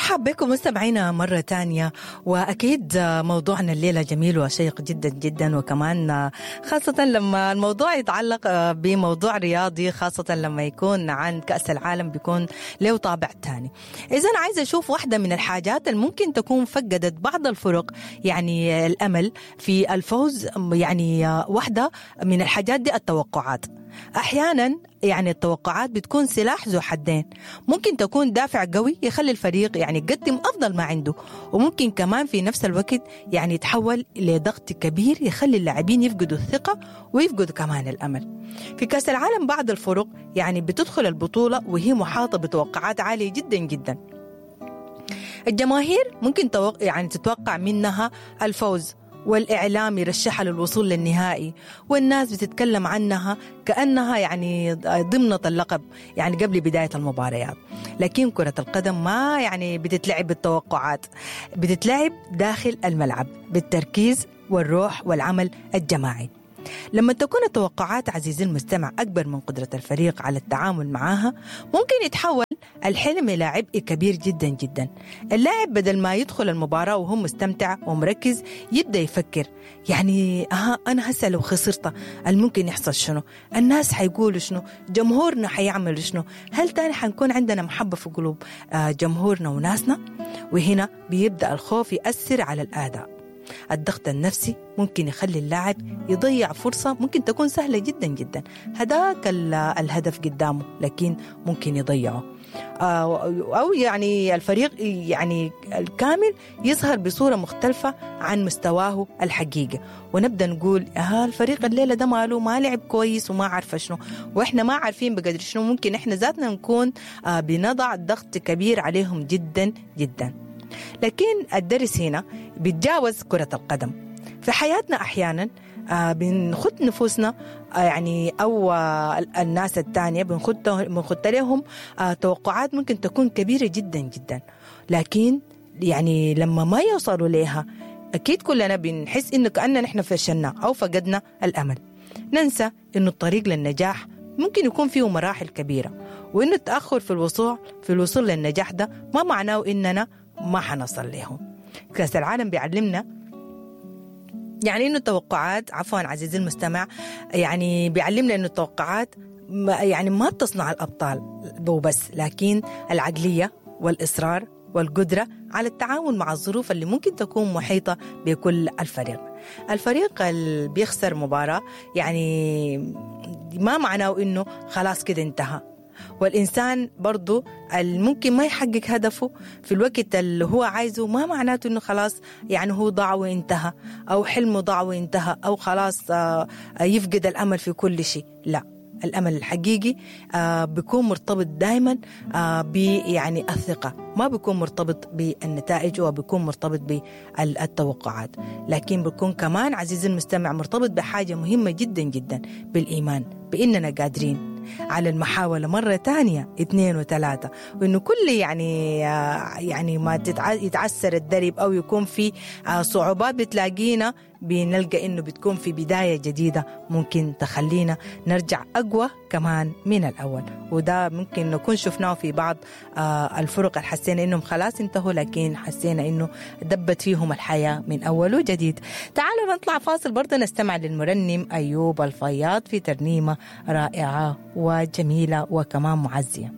مرحب بكم مستمعينا مرة تانية، وأكيد موضوعنا الليلة جميل وشيق جدا جدا، وكمان خاصة لما الموضوع يتعلق بموضوع رياضي، خاصة لما يكون عن كأس العالم بيكون له طابع تاني. إذا عايزة أشوف واحدة من الحاجات اللي ممكن تكون فقدت بعض الفرق يعني الأمل في الفوز، يعني واحدة من الحاجات دي التوقعات. أحيانا يعني التوقعات بتكون سلاح ذو حدين، ممكن تكون دافع قوي يخلي الفريق يعني يقدم أفضل ما عنده، وممكن كمان في نفس الوقت يعني يتحول لضغط كبير يخلي اللاعبين يفقدوا الثقة ويفقدوا كمان الأمل. في كأس العالم بعض الفرق يعني بتدخل البطولة وهي محاطة بتوقعات عالية جدا جدا. الجماهير ممكن يعني تتوقع منها الفوز، والإعلام يرشحها للوصول للنهائي، والناس بتتكلم عنها كأنها يعني ضمنت اللقب يعني قبل بداية المباريات. لكن كرة القدم ما يعني بتتلعب بالتوقعات، بتتلعب داخل الملعب بالتركيز والروح والعمل الجماعي. لما تكون التوقعات عزيزي المستمع أكبر من قدرة الفريق على التعامل معها، ممكن يتحول الحلم إلى عبء كبير جدا جدا. اللاعب بدل ما يدخل المباراة وهو مستمتع ومركز يبدأ يفكر يعني أنا هسه لو خسرت الممكن يحصل شنو؟ الناس حيقولوا شنو؟ جمهورنا حيعملوا شنو؟ هل تاني حنكون عندنا محبة في قلوب جمهورنا وناسنا؟ وهنا بيبدأ الخوف يأثر على الأداء. الضغط النفسي ممكن يخلي اللاعب يضيع فرصة ممكن تكون سهلة جدا جدا، هداك الهدف قدامه لكن ممكن يضيعه، أو يعني الفريق يعني الكامل يظهر بصورة مختلفة عن مستواه الحقيقي، ونبدأ نقول الفريق الليلة ده ماله ما لعب كويس وما عارفة شنو، وإحنا ما عارفين بقدر شنو. ممكن إحنا ذاتنا نكون بنضع ضغط كبير عليهم جدا جدا. لكن الدرس هنا بيتجاوز كرة القدم. في حياتنا أحيانا بنخط نفوسنا يعني أو الناس التانية بنخط لهم توقعات ممكن تكون كبيرة جدا جدا، لكن يعني لما ما يوصلوا لها أكيد كلنا بنحس إنه كأننا نحن فشلنا أو فقدنا الأمل. ننسى إنه الطريق للنجاح ممكن يكون فيه مراحل كبيرة، وإنه التأخر في الوصول للنجاح ده ما معناه إننا ما حنصل لهم. كأس العالم بيعلمنا يعني إنه التوقعات، عفوا عزيزي المستمع، يعني بيعلمنا إنه التوقعات يعني ما بتصنع الأبطال وبس، لكن العقلية والإصرار والقدرة على التعاون مع الظروف اللي ممكن تكون محيطة بكل الفريق. الفريق اللي بيخسر مباراة يعني ما معناه إنه خلاص كده انتهى، والإنسان برضو ممكن ما يحقق هدفه في الوقت اللي هو عايزه ما معناته إنه خلاص يعني هو ضاع وانتهى، أو حلمه ضاع وانتهى، أو خلاص يفقد الأمل في كل شيء. لا، الأمل الحقيقي بيكون مرتبط دائما يعني الثقة، ما بيكون مرتبط بالنتائج وبيكون مرتبط بالتوقعات، لكن بيكون كمان عزيزي المستمع مرتبط بحاجة مهمة جدا جدا، بالإيمان بإننا قادرين على المحاولة مرة تانية 2 و3، وإنه كل يعني ما يتعسر الدرب أو يكون في صعوبات بتلاقينا بنلقى إنه بتكون في بداية جديدة ممكن تخلينا نرجع أقوى كمان من الأول. وده ممكن نكون شفناه في بعض الفرق اللي حسينا إنهم خلاص انتهوا، لكن حسينا إنه دبت فيهم الحياة من أول وجديد. تعالوا نطلع فاصل برضه نستمع للمرنم أيوب الفياض في ترنيمة رائعة وجميلة وكمان معزية.